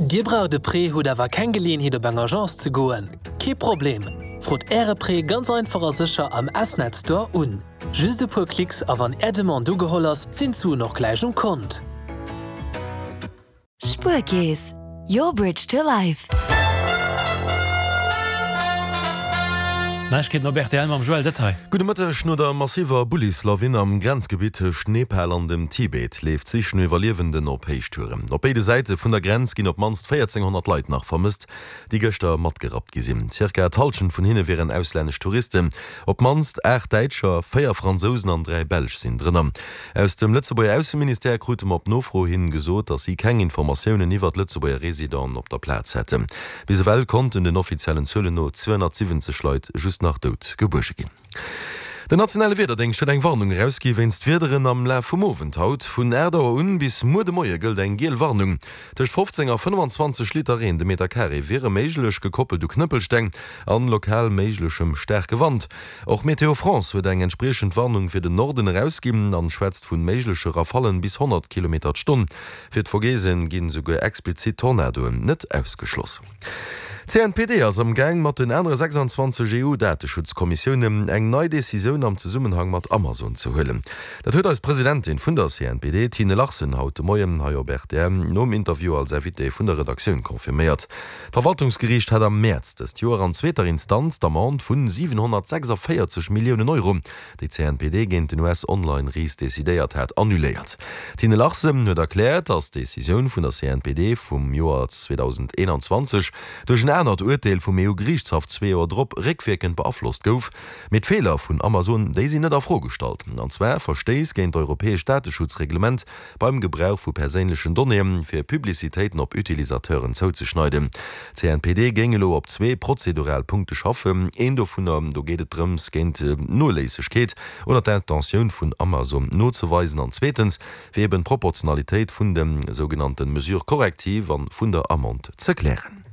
Dir braucht e Prêt, hutt awer keng Geleeënheet op eng Agence ze goen? Kee Problem! Frot Äre Prêt ganz einfach a sécher am S-Net Store un. Just e puer Klicks a wann Är Demande ugeholl ass, sinn d'Suen och gläich um Kont. Spuerkeess, your bridge to life. Neiegkeeten op rtl mam Joël Detail. Gudde Mëtteg. No der massiver Bullislawin am Grenzgebitt tëscht Nepal an dem Tibet leeft d'Sich no Iwwerliewenden op Héichtouren. Op béide Säite vun der Grenz ginn op d'mannst 1.400 Leit nach vermësst, déi gëschter matgerappt gi sinn. Zirka d'Hallschent vun hinne wieren auslännesch Touristen. Op d'mannst 8 Däitscher, 4 Fransousen an 3 Belsch sinn drënner. Aus dem Lëtzebuerger Ausseministère krute mer op Nofro hin gesot, datt si keng Informatiounen iwwert Lëtzebuerger Residenten op der Plaz hätten. Bis ewell konnten den offiziellen Zuelen no 270 Leit just nach dout gebuerge ginn. Den nationale Wiederdéngscht huet eng Warnung erausgi wéinst Wiederen am Laf vum Owend haut. Vun 8 Auer un bis muer de Moie gëllt eng giel Warnung. Tëscht 15 a 25 Liter Reen de Meter Carré wiere méiglech, gekoppelt u Knëppelsteng an lokal méiglechem staarke Wand. Och Météo France huet eng entspriechend Warnung fir den Norden erausginn an schwätzt vun méigleche Rafallen bis 100 Kilometer d'Stonn. Fir d'Vogesen ginn esouguer explizit Tornadoen net ausgeschloss. D'CNPD ass am Gaang mat den anere 26 EU-Dateschutzkommissiounen eng nei Decisioun am Zesummenhang mat Amazon ze huelen. Dat huet eis Presidentin vun der CNPD, Tine Larsen, haut de Moien hei op rtl nom Interview als Invitée vun der Redaktioun confirméiert. D'Verwaltungsgeriicht hat am Mäerz dëst Joer an zweeter Instanz d'Amende vun 746 Milliounen Euro, déi d'CNPD géint den US-Online-Ris decidéiert hat, annuléiert. D'Tine Larsen huet erkläert, datt d'Decisioun vun der CNPD vum Joer 2021 duerch en anert Urteel vum EU-Geriichtshaff zwee Joer drop réckwierkend beaflosst gouf. Mee d'Feeler vun Amazon, déi sinn net a Fro gestallt, an zwar Verstéiss géint d'europäescht Dateschutzreglement, beim Gebrauch vu perséinlechen Donnéeë fir Publicitéiten op Utilisateuren zouzeschneiden. D'CNPD géing elo op zwee prozedural Punkte schaffen. Een dovunner, do geet et drëms, géint d'Noléissegkeet oder d'Intentioun vun Amazon nozeweisen an zweetens, fir eben d'Proportionalitéit vun de sougenannte Mesures correctives an vun der Amende ze klären.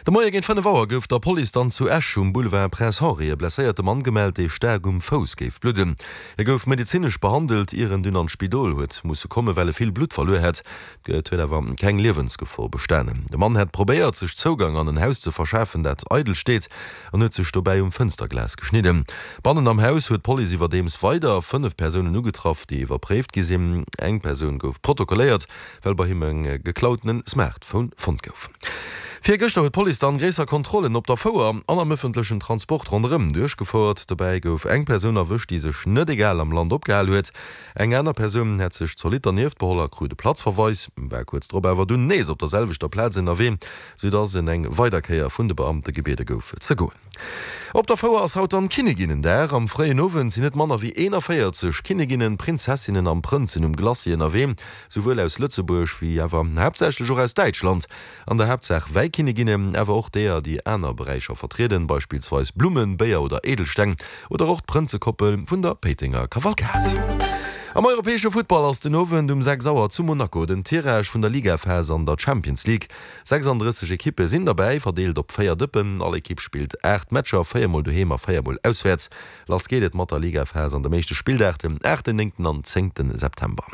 De Moie géint 5 Auer gouf der Police dann zu Esch um Boulevard Prince Henri e blesséierte Mann gemellt, dee staark um Fouss géif bludden. Hie gouf medezinesch behandelt, ier en dunn an d'Spidol huet musse kommen, well e vill Blutt verluer hätt. Et huet awer keng Liewensgefor bestanen. De Mann hätt probéiert, sech Zougang an en Haus ze verschafen, dat eidel steet, an huet sech dobäi um Fënsterglas geschnidden. Bannen am Haus huet d'Police iwwerdeems weider 5 Persounen ugetraff, déi iwwerpréift gi sinn. Eng Persoun gouf protokolléiert, well bei him e geklautene Smartphone fonnt gouf. Virgëschter huet d'Police dann gréisser Kontrollen op der Fouer an am ëffentlechen Transport ronderëm duerchgefouert. Dobäi gouf eng Persoun erwëscht, déi sech net egal am Land opgehal huet. Eng aner Persoun hätt sech zolidd dernieft beholl a krut e Platzverweis, war kuerz drop awer dunn nees op der selwechter Plaz ënnerwee, soudass en eng weider Kéier vun de Beamte gebiede gouf ze goen. Op der Fouer ass haut dann Kinniginnendag. Am fréien Owend sinn net manner wéi 41 Kinniginnen, Prinzessinnen an Prënzen um Glacis ënnerwee, souwuel aus Lëtzebuerg wéi awer haaptsächlech och aus Däitschland. An der Haaptsaach Wäikinniginnen, awer och deeër, déi aner Beräicher vertrieden, beispillsweis Blummen, Béier oder Edelsteng, oder och d'Prënzekoppel vun der Péitenger Kavalkad. Am europäesche Futtball ass den Owend um 6 Auer zu Monaco den Tirage vun der Ligaphas an der Champions League. 36 Ekippe sinn derbäi, verdeelt op 4 Dëppen. All Ekipp spillt 8 Matcher, 4 mol doheem a 4 mol auswäerts. Lass geet et mat der Ligaphas an dem éischte Spilldag, dem aachten, néngten an zéngte September.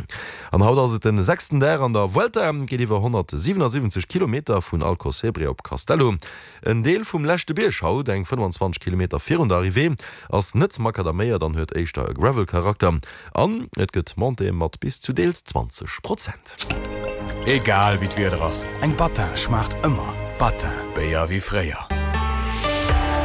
An haut ass et den sechsten Dag an der Vuelta. Et geet iwwer 177 Kilometer vun Alcossebre op Castello. En Deel vum leschte Bierg haut, eng 25 Kilometer virun der Arrivée, ass net makadaméiert an huet éischter e Gravel-Charakter. An et gëtt Montéeë mat bis zu deels 20 Prozent. Egal wéi d'Wieder ass, eng Battin schmaacht ëmmer. Battin, Béier wéi fréier.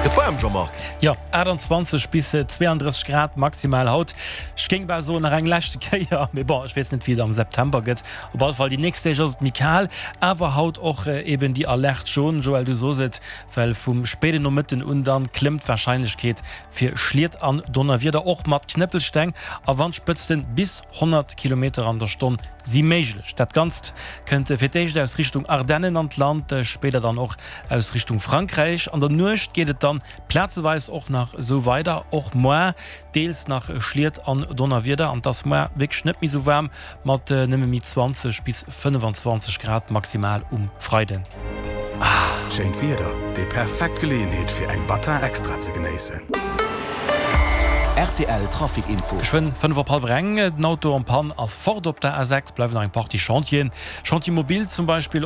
Gëtt waarm, Jean-Marc? Jo, 28 bis 32 Grad maximal haut. Ech géing bal soen nach eng leschte Kéier, mee bon, ech weess net wéi et am September gëtt. Op alle Fall déi nächst Deeg ass et méi kal, awer haut och eben déi Alerte jaune, Joël, du sos et, well vum spéiden Nomëtten un dann klëmmt d'Warscheinlechkeet fir Schliet an Donnerwieder, och mat Knëppelsteng a Wandspëtzten bis 100 Kilometer an der Stonn si méiglech. Dat Ganzt kënnt fir d'éischt aus Richtung Ardennen an d'Land, spéider dann och aus Richtung Frankräich. An der Nuecht geet et dann plazeweis och nach esou weider, och moar deels nach Schliet an Donnerwieder an et ass moar wierklech net méi esou waarm mat nëmme méi 20 bis 25 Grad maximal um Freiden. Schéint Wieder, déi perfekt Geleeënheet fir eng Battin Extra ze genéissen. Rtl Trafic Info. Geschwënn 5 op hallwer eng, den Auto en panne ass fort op der A6, bleiwen nach eng Partie Chantieren, Chantier mobile zum Beispill op.